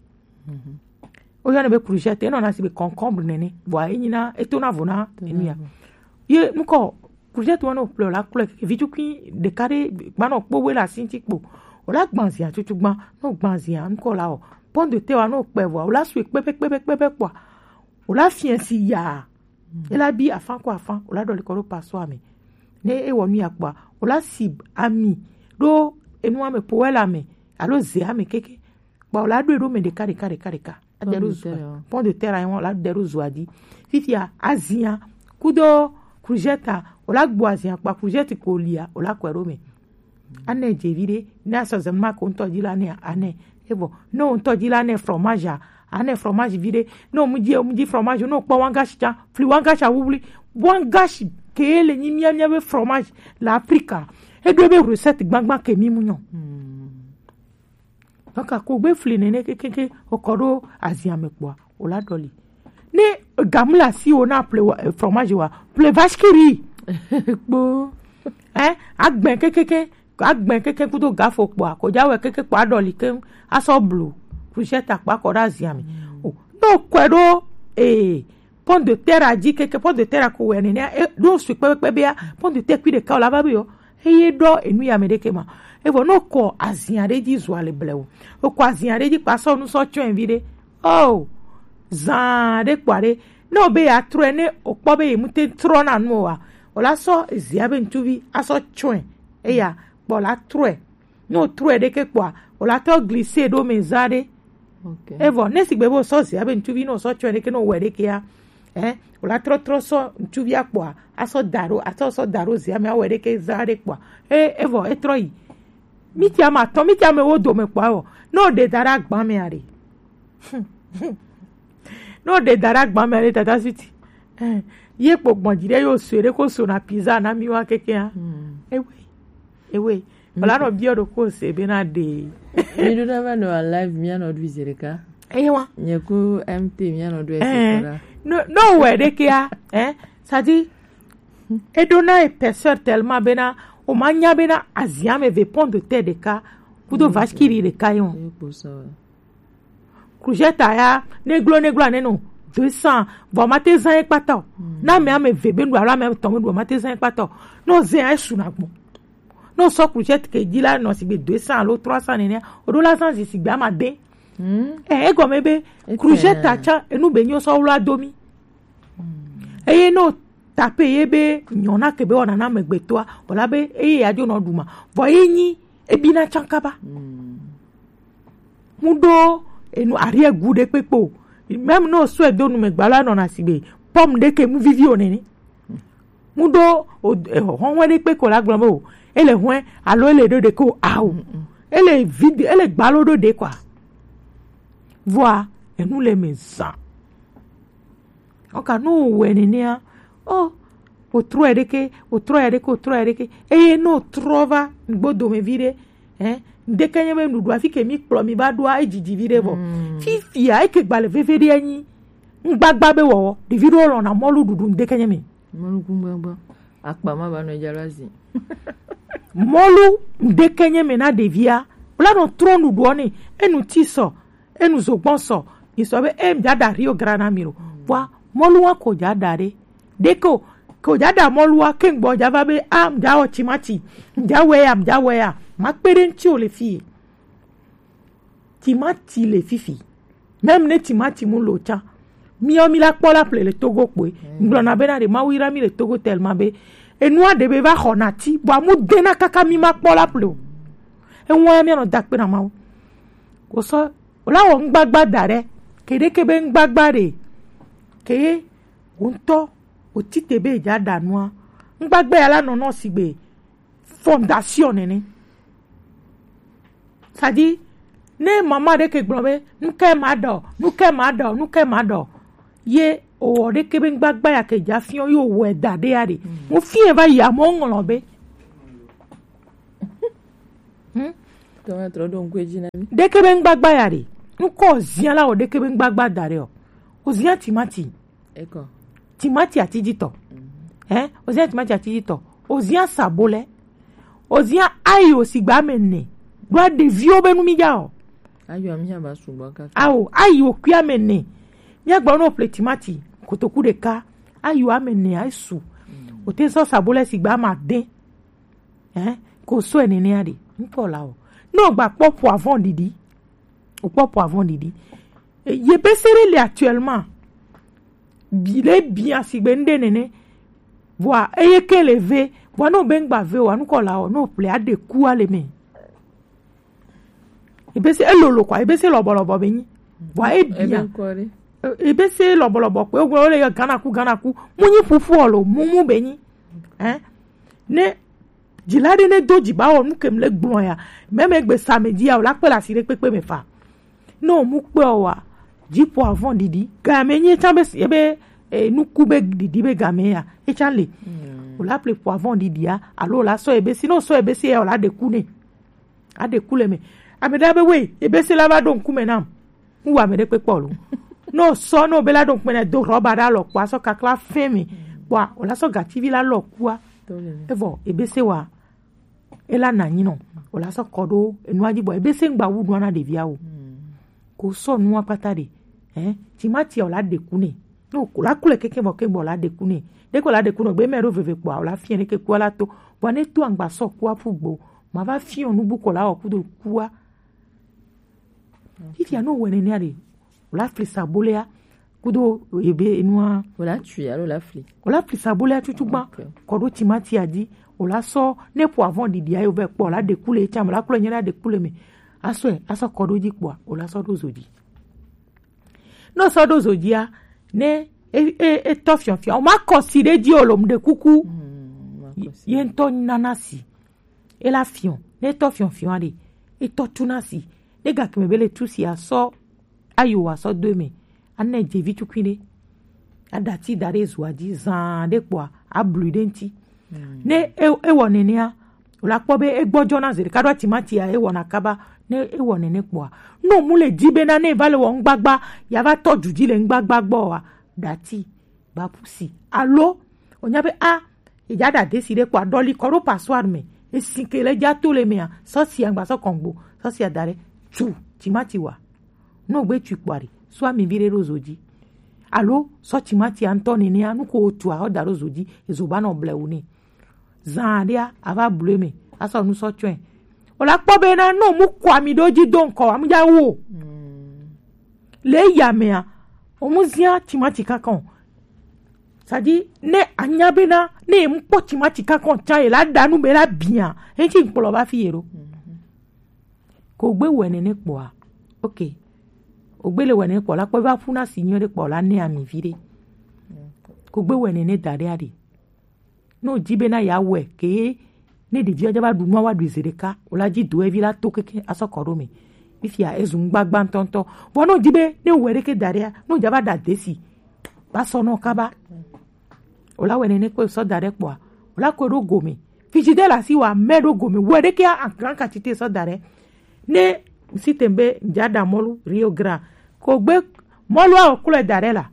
Woyɔnɛ be courgette, enɔna si be concombre nene. Bua enyina, etona vo na enu ya. Ye nukɔ courgette wa ne wòƒle la klɔe, vitukui ɖeka ɖe gbanɔ kpo we le asi ŋuti kpo. Wòla gbã zia tutu gbã, ne wògbã zia nukɔ la o. Pomme de terre wa ne wòkpɛ vɔa, wòla sue kpɛpɛ kpɛpɛ kpɛpɛ kpɔa, wòla fiɛ si yaa. Ela bi afã ko afã, wòla ɖɔli kɔ ɖo passoire me. Ne ewɔ nu ya kpɔa, wòla si ami ɖo enua me, poêle ame alo zea me keke. Kpɔ wòla ɖoe ɖo me ɖeka ɖeka ɖeka ɖeka. Ade ɖo zua. Pomme de terre ya, wòla de ɖo zua dzi. Fifia azia kudo courgette, wòla gbo azia kpa courgette ko lia, wòla kɔe ɖo me. Anɛ dze vi ɖe, ne asɔ zema ko ŋutɔ dzi la nɛ anɛ. Evɔ, ne wo ŋutɔ dzi la nɛ fromage a, anɛ fromage vi ɖe. Ne wo mu dzi, mu dzi fromage, ne wo kpɔ wangashi tsa, fli wangashi a wubli, wangashi ke le nyi mia mia be fromage le Afrika. Eɖo be recette gbagba ke mi mu nyɔ. Donc ko gbe fli nene kekeke, wokɔ ɖo azia me kpɔa, wòla ɖɔli. Ne gamu le asi wo na ple wa, eh, fromage wa, ple vache qui rit. Kpo. Eh, agbɛ kekeke, agbɛ keke kudo gafo kpɔa, ko dza wɛ keke kpɔa ɖɔli ke asɔ blu. Courgette akpa kɔ ɖe azia me. O, no kɔe ɖo, eh, pomme de terre a dzi keke, pomme de terre a ko wɛ nene, e ɖo sui kpekpe bea, pomme de terre kui ɖeka wòla va be yo. Eye ɖɔ enu ya me ɖeke ma. Evɔ no kɔ azia ɖe dzi zua le blewo. Okɔ azia ɖe dzi kpa sɔ nu sɔ tsɔe vi ɖe. Oh, zan ɖe kpɔa ɖe. Ne wo be ya trɔe, ne okpɔ be ye mute trɔ na nu wa, wòla sɔ zia be ŋutsuvi asɔ tsɔe. Eya kpɔ la trɔe. Ne wo trɔe ɖeke kpɔa, wòla tɔ glisse ɖo me za ɖe. Evɔ ne sigbe be wosɔ zia be ŋutsuvi, ne wosɔ tsɔe ɖeke, ne wowɔe ɖeke ya, eh, wòla trɔ trɔ sɔ ŋutsuvia kpɔa, asɔ da ɖo, asɔ sɔ da ɖo zia me, awɔe ɖeke za ɖe kpɔa, e evɔ etrɔ yi. Miti ame atɔ̃, miti ame wo dome kpɔa, evɔ ne woɖe da ɖe agba mea ɖe, ne woɖe da ɖe agba mea ɖe, tata suti, eh, ye kpo gbɔn dzi ɖe yo sue ɖe ko so na pizza na mi wa kekea. Ewe, ewe. Wòla nɔ biɔ ɖo ko se be na ɖe. Mi ɖo na va nɔ live, mi anɔ ɖu zi ɖeka. Eye wa. Nye ku M T mi anɔ ɖu ese ɖa. No, no wɛ ɖekea, eh? C'est-à-dire, eɖo na épaisseur tellement bena, o ma nya bena azia me ve pomme de terre ɖeka, kudo vache qui rit ɖeka yo. Courgette ya, neglo, neglo aneno, deux cents, vɔ ma te zan ye kpata o. Na ame ame ve be nu alo ame etɔ̃ be nu, ma te zan ye kpata o. No zan ye su na gbɔ. Ne wosɔ courgette ke dzi la, nɔ sigbe deux cents alo trois cents nene, woɖo la zã zi sigbe amade. Eh, egɔme be courgette tsã, enu be nyo sɔ wla do mi. Eye ne tape ye be nyɔna ke be wɔna na amegbetɔa, wòla be eye ya dzo nɔ ɖu ma. Vɔ ye nyi ebina tsã kaba. Mu ɖo enu arrière goût ɖe kpekpe o. Même ne wosɔe do nu me gba la, nɔna sigbe pomme ɖe ke mu vivi o nene. Mu ɖo o, eh, hɔhɔe ɖe kpe ko la gblɔ be o, ele hɔe alo ele ɖo ɖe ko awu. Ele vide, ele gbalo ɖo ɖe kwa. Vɔa, enu le me zã. Oka no wɛ nenea, o, o trɔ ya ɖeke, o trɔ ya ɖeke, o trɔ ya ɖeke. Eye no trɔ va gbodo me vi ɖe, eh, ŋdeke nye be nuɖuɖu afi ke mi kplɔ mi va ɖoa, edzidzi vi ɖe vɔ. Fifia, eke gba le veve ɖe anyi. Ŋgbagba be wɔwɔ, ɖevi ɖewo lɔna mɔlu ɖuɖu ŋdeke nye me. Mɔlu ku ŋgbagba. Akpa ma va nɔ dza la zi. Mɔlu ŋdeke nye me na ɖevia. Wòla nɔ trɔ nuɖuɖuɔ ne. Enu ti sɔ, enu zogbɔn sɔ. Mi sɔ be, e, mi dza ɖa Rio Grande na mi lo. Vɔa, mɔlu wa ko dza ɖa ɖe. Ɖeke o, ko dza ɖa mɔlu wa, ke ŋgbɔ dza va be, a, mi dza wɔ timati. Mi dza wɛ ya, mi dza wɛ ya. Ma kpe ɖe ŋuti o le fie. Timati le fifi. Même ne timati mu lo tsã. Miɔ mi la kpɔ la ple le Togo kpoe. Ŋgblɔ na be na ɖe Mawu yra mi le Togo tellement be enua ɖe be va xɔ na ti, bua mu de na kaka mi ma kpɔ la ple o. Enua ya mi anɔ da kpe na Mawu. Wosɔ, wòla wɔ ŋgbagba da ɖe. Ke ɖe ke be ŋgbagba ɖe. Ke ye, wò ŋutɔ, wò ti te be dza ɖa nua. Ŋgbagba ya la nɔ nɔ sigbe fondation nene. C'est-à-dire, ne mama ɖe ke gblɔ be, nu ke ma ɖɔ, nu ke ma ɖɔ, nu ke ma ɖɔ. Ye o wɔ ɖe ke be ŋgbagba ya ke dza fiɔ, yo wɔ da ɖe ya ɖe. Mo fiɛ va yi amewo ŋlɔ be. Tɔma trɔ ɖo ŋku edzi na mí. Ɖeke be ŋgbagba ya ɖe. Ŋkɔ ozia la wɔ ɖeke be ŋgbagba da ɖe o. Ozia timati. Eko. Timati atijitɔ. Mhm. Hein? Ozia timati atijitɔ. Ozia sabolɛ. Ozia ayi osigba ame ene. Ɖo ɖeviwo be nu mi dza o. Ayo ami aba sugbɔ kaka. Awo, ayi okui ame ene. Mía gbɔ no ple timati. Kotoku ɖeka. Ayi ame ene ayi su. Mm. Ote sɔ sabolɛ sigba ame ade. Hein? Ko sɔ ene ne aɖe. Ŋkɔ la o. No gba kpɔ poivron ɖiɖi. Okpɔ poivron ɖiɖi. E, yebese ɖe le actuellement. Bi le bia sigbe ŋɖe nene. Vɔa eye ke le ve. Vɔa no be ŋgba ve wa nukɔ la o no ple aɖe ku ale me. Ebese elolo kwa ebese lɔbɔlɔbɔ be nyi. Vɔa e bia. E, ebese lɔbɔlɔbɔ kpe wo le ganaku ganaku. Mu nyi fufu olo mumu be nyi. Hein? Ne Dzila ɖe ne do dzi ba wɔ nu ke mu le gblɔ ya. Mɛmɛ gbe sa me dzi ya o la kpe le asi ɖe kpekpe me fa. Ne o mu kpe o wa, dzi poivron ɖiɖi. Game nye tsa be si ebe e, nuku be ɖiɖi be game ya. Etsa le. Mm. O la ple poivron ɖiɖi ya. Alo o la sɔ ebese. Ne o sɔ ebese ya o la ɖe ku ne. A ɖe ku le me. Ame ɖe be we ebese la va ɖo ŋkume nam. Ŋu wa ame ɖe kpekpe o lo. Ne o sɔ ne o be la ɖo ŋkume ne do rɔba ɖe alɔ kpoa sɔ kakla fɛn me. Kpoa o la sɔ gativi la lɔ kua. Evɔ ebese wa ela na nyi nɔ o la sɔ kɔ ɖo enua dzi bɔ ebese ŋgba wu nua na ɖevia o. Ko sɔ nua kpata ɖe. Ɛ timati o la ɖe ku ne. No ko la ku le keke bɔ ke gbɔ la ɖe ku ne. Ɖe ko la ɖe ku nɔ gbe mɛ ɖo veve kpoa o la fiɛ ɖe ke kua la to. Bɔ ne to angba sɔ kua fu gbo ma va fiɔ nubu ko la wɔ kudo kua. Fifia no wɛ nenea ɖe o la fli sabolea kudo ebe enua. O la tui alo o la fli. O la fli sabolea tutu gba. Ok. Kɔ ɖo timati a dzi. O la sɔ ne poivron ɖiɖi ayo vɛ kpɔ o la ɖe ku le etsa me o la klo nye la ɖe ku le me. Asɔe asɔ kɔ ɖo dzi kpɔa o la sɔ ɖo zo dzi. Ne o sɔ ɖo zo dzia ne e e etɔ fiɔfiɔ o ma kɔ si ɖe dzi o lo mu ɖe kuku. Ye ŋutɔ nana si. Ela fiɔ ne etɔ fiɔfiɔ aɖe etɔ tuna si ne gakeme be le tu si asɔ ayo asɔ do eme ane dzevi tukui ɖe aɖati da ɖe zoa dzi zã ɖe kpɔa ablui ɖe ŋti. Ne e- ewɔ nenea o la kpɔ be egbɔdzɔna zi ɖeka ɖo atimatia ewɔna kaba. Ne ewɔ nene kpɔa ne o mu le di bena ne eva le wɔ ŋgbagba ya va tɔ dzu dzi le ŋgbagba gbɔ wa ɖati ba pusi alo o nya be a edza ɖa desi ɖe kpɔa ɖɔli kɔ ɖo passoire me esi ke le dza to le mea sɔsia ŋgba sɔ kɔngbo sɔsia da ɖe tu timati wa. Ne o gbe tui kpɔa ɖe sɔ ami vi ɖe ɖo zo dzi alo sɔ timati ŋutɔ nenea nu ko o tua o da ɖo zo dzi ezo ba nɔ blewu ne. Zã ɖea ava blu eme asɔ nu sɔ tsɔe. O la kpɔ bena ne o mu kɔ ami ɖo dzi do ŋkɔ ami dza wo. Le eya mea o mu zia timati kankan o. Sadi ne anya bena ne e mu kpɔ timati kankan tsã ye la ɖa nu be la bia enti ŋkplɔ va fi ye ɖo. Ko gbe wɛ nene kpɔa ok. O gbe le wɛ nene kpɔ la kpɔ va ƒu na si nyuie ɖe kpɔ la ne ami vi ɖe. Ko gbe wɛ nene da ɖe aɖe. Ne o di bena ya wɛ ke ne ɖevi wa dza va ɖu nua wa ɖu ze ɖeka o la dzi do evi la to keke asɔ kɔ ɖo me. Fifia ezu ŋgbagba ŋutɔŋutɔ. Vɔ ne o di be ne o wɛ ɖeke da ɖea ne o dza va ɖa desi va sɔ nɔ kaba. O la wɛ nene kpe sɔ da ɖe kpɔa o la kɔe ɖo gome. Fiji de la si wa mɛ ɖo gome wɛ ɖeke a grand quantité sɔ da ɖe. Ne si tem be dza ɖa mɔlu Rio Grande ko gbe mɔlu a o klɔe da ɖe la.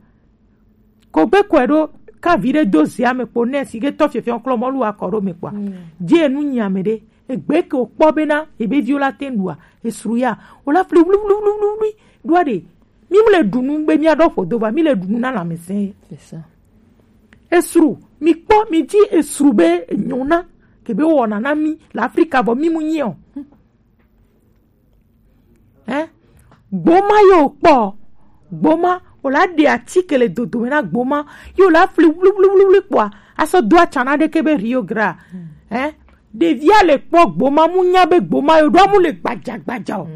Ko gbe kɔe ɖo ka vi ɖe do zia me kpo ne si ke tɔ fiɔfiɔ klɔ mɔlu akɔ ɖo me kpɔa. Dzi enu nyi ame ɖe egbe ke o kpɔ bena ebe viwo la te ɖua esru ya o la fli wluwluwluwlui ɖoa ɖe mi mu le ɖu nu be mia ɖɔ ƒodo va mi le ɖu nu na lãmesẽ. Esru mi kpɔ mi dzi esru be enyona kebe wɔna na mi le Afrika vɔ mi mu nyi o. Hein? Gboma yo kpɔ gboma o la ɖe atike le dodome na gboma yo la fli wluwluwlui kpɔa asɔ do atsana ɖeke be Rio Grande. Hein? Ɖevia le kpɔ gboma mu nya be gboma yo ɖo amu le gbadzagbadza o.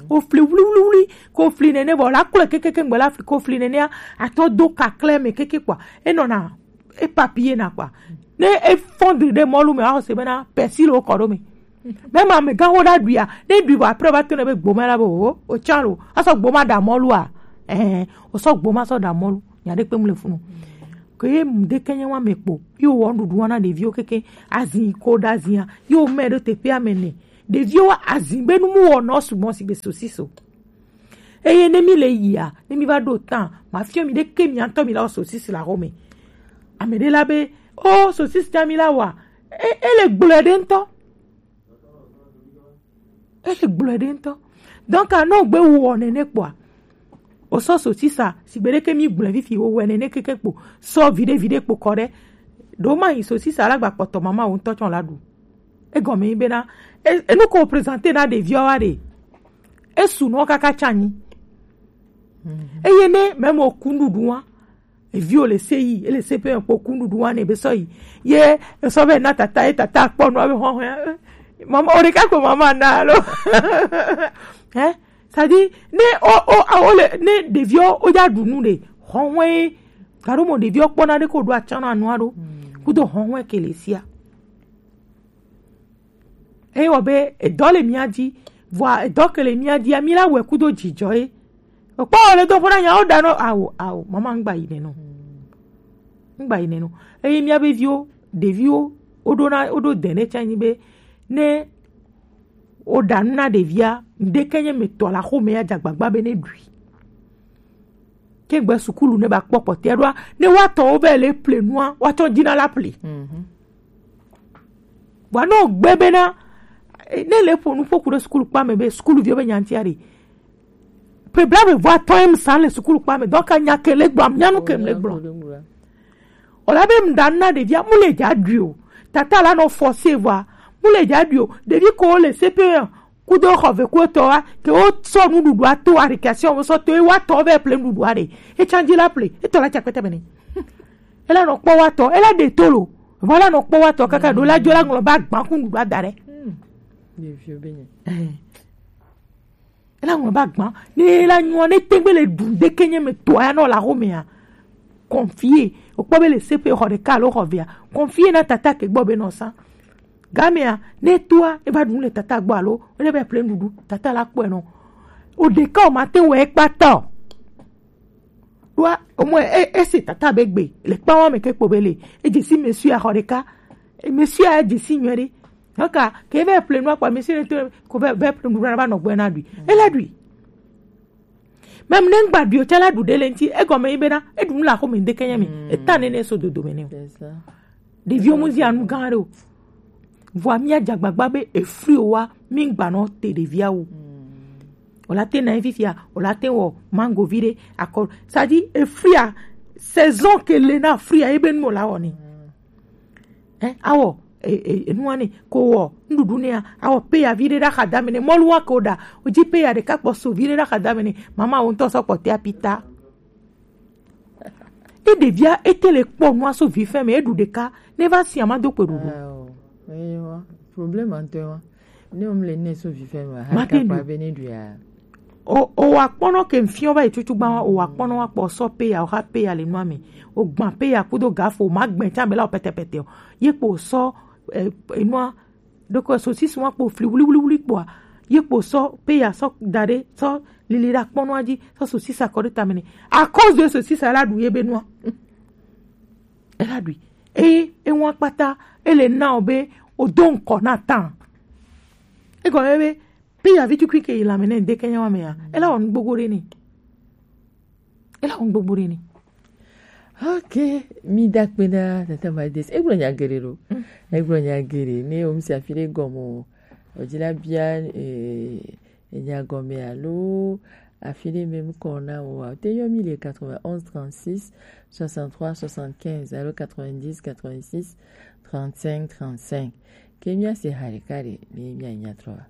O fli wluwluwlui ko fli nene vɔ la kplɔe kekeke ŋgbe la fli ko fli nenea atɔ do kakle me keke kpɔa enɔna e papier na kpɔa ne e fɔndri ɖe mɔlu me wa xɔse bena persil wo kɔ ɖo me. Mɛ ma me gã wo ɖa ɖuia ne ɖui vɔ après va to ne be gboma la be o o tsa lo asɔ gboma ɖa mɔlua. Ɛɛ o sɔ gboma sɔ ɖa mɔlu nya ɖe kpe mu le funu. Ke ye mu ɖe ke nye wa me kpo yo wɔ nuɖuɖu wa na ɖeviwo keke azi ko ɖa zia yo mɛ ɖo teƒe ame ne. Ɖeviwo azin be nu mu wɔnɔ sugbɔ si be sosiso. Eye ne mi le yia, ne mi va ɖo tan, ma fiɔ mi ɖeke mi ŋutɔ mi la wɔ sosisi la xɔme. Ame ɖe la be, o sosisi ta mi la wa, e, ele gblɔe ɖe ŋutɔ. Ele gblɔe ɖe ŋutɔ. Donc, anɔ gbe wɔ nene kpɔa. O sɔ sosisa, si gbe ɖeke mi gblɔe fifi wo wɛ nene keke kpo. Sɔ viɖe viɖe kpo kɔ ɖe. Ɖo ma yi sosisa la gba kpɔtɔ mama wo ŋutɔ tsɔ la ɖu. Egɔme nyi bena, e, enu ko présenter na ɖeviwo wa ɖe, esu nɔ kaka tsanyi. Eye ne meme o ku nuɖuɖu wa, eviwo le se yi, ele se pe kpo ku nuɖuɖu wa ne be sɔ yi. Ye esɔ be na tata, ye tata kpɔ nua be hɔhɔe. Mama, o ɖeka ko mama na alo. Hein? C'est-à-dire, ne o, o, a, o le, ne ɖeviwo o ja ɖu nu ɖe, hɔhɔe, garo mo ɖeviwo kpɔna ɖe ko ɖo atsana nua ɖo. Kudo hɔhɔe ke le sia. Eye wɔ be edɔ le mía dzi, vɔa edɔ ke le mía dzia, mí la wɔe kudo dzidzɔ ye. Okpɔ wɔ le do ƒo na nya wo ɖa nɔ, ao, ao, mama ŋgba yi neno. Ŋgba yi neno. Eye mía be viwo, ɖeviwo, wo ɖo na, wo ɖo de ne tsa nyi be, ne wo ɖa nu na ɖevia, ŋɖeke nye me tɔ la xo me ya dza gbagba be ne ɖui. Ke gbe sukulu ne ba kpɔ kpɔtɛa ɖoa, ne wa tɔ wo be le ple nua, wa tɔ dzi na la ple. Vɔa ne wògbe bena, eh, ne le ƒo nu ƒo ku ɖe sukulukpa me be sukuluviwo be nya ŋutia ɖe, ƒe blaeve vɔ atɔ̃ ye msa le sukulukpa me, donc nya ke le gblɔm, nya nu ke le gblɔm. Wòla be mɖa na ɖevia, mu le dza ɖui o. Tata la nɔ forcer vɔa, mu le dza ɖui o. Ɖevi ko le C P E kudo xɔ ve ku etɔ wa, ke wo sɔ nuɖuɖua to, récréation wo sɔ to, ye wa tɔ be ple nuɖuɖua ɖe. Etsa dzi la ple, etɔ la tsa kpɛtɛ bene. Ela nɔ kpɔ wa tɔ, ela ɖe to lo. Vɔ ela nɔ kpɔ wa tɔ kaka ɖo la dzo la ŋlɔ ba gbã ku nuɖuɖua da ɖe. Ɖeviwo be nya. Eh. Ela ŋlɔ ba gbã. Ne ela nyua, ne tegbe le ɖu ɖeke nye me to ya nɔ la xo mea. Confier. Okpɔ be le C P E xɔ ɖeka alo xɔ vea. Confier na tata ke gbɔ be nɔ sa. Gamea, ne toa, eva ɖu le tata gbɔ alo, ele be ple nuɖuɖu, tata la kpɔe nɔ. O ɖeka o ma te wɔ ekpa ta o. Ɖoa, omɔ e, ese tata be gbe, le kpawa me ke kpo be le. E dze si monsieur a xɔ ɖeka. E monsieur a dze si nyuie ɖe. Haka, ke ve ple nua kpa monsieur ne to ko ve, ve ple nuɖuɖu na va nɔ gbɔ na ɖui. Ele ɖui. Même ne ŋgba ɖui o, tsɛ la ɖu ɖe le ŋti, egɔme yi bena, eɖu nu le axome ŋdeke nye mi. Eta nene so dodo me ne o. C'est ça. Ɖeviwo mu zi anu gã ɖe o. Vɔa mía dze agbagba be efli o wa, mi ŋgba nɔ te ɖevia o. Wòla te na ye fifia, wòla te wɔ mango vi ɖe, akɔ. Ça dit, eflia, saison ke le na flia, ebe nu wòla wɔ ni. Hein, awɔ, e, e, enua ne, ko wɔ, nuɖuɖu nea, awɔ peya vi ɖe ɖe axadame ne, mɔlu wa ko ɖa, wodzi peya ɖeka kpɔ so vi ɖe ɖe axadame ne, mama wo ŋutɔ sɔ kpɔ tea pita. E ɖevia, ete le kpɔ nua so vi fɛn me, eɖu ɖeka, ne va si ama do kpe ɖuɖu. Ah, oh. Eyo, problème ante wa. Ne wo mle ne so vi fɛn me, mate ɖu. Be ne ɖu ya. O, o wa kpɔnɔ ke mfiɔ va yi tutu gba wa, o wa kpɔnɔ wa kpɔ sɔ peya, o ha peya le nua me. O gba peya kudo gafo, ma gbɛ tsa me la o pɛtɛpɛtɛ o. Ye kpo sɔ, eh, enua, ɖoko sosisi wa kpo fli wuli, wuli, wuli kpoa. Ye kpo sɔ peya sɔ da ɖe, sɔ lili ɖa kpɔnɔa dzi, sɔ sosisa kɔ ɖe tame ne. À cause de sosisa la ɖu ye be nua. Ela ɖui. Eye ewa kpata, ele na o be, o do ŋkɔ na tan. Egɔme be, Peya vi tukui ke yi lãme ne ŋdeke nyawa mea, ela wɔ nu gbogbo ɖe ni. Ela wɔ nu gbogbo ɖe ni. Ok, mi da kpe na tata Valdez. Egblɔ nya geɖe ɖo. Egblɔ nya geɖe. Ne wo msi afi ɖe gɔme o, o dzi la bia, eh, enya gɔme alo afi ɖe me ŋkɔ na o wa. Te yɔ mi le quatre-vingt-onze trente-six soixante-trois soixante-quinze alo quatre-vingt-dix quatre-vingt-six trente-cinq trente-cinq. Ke mia se ha ɖeka ɖe, ne mia nya trɔ wa.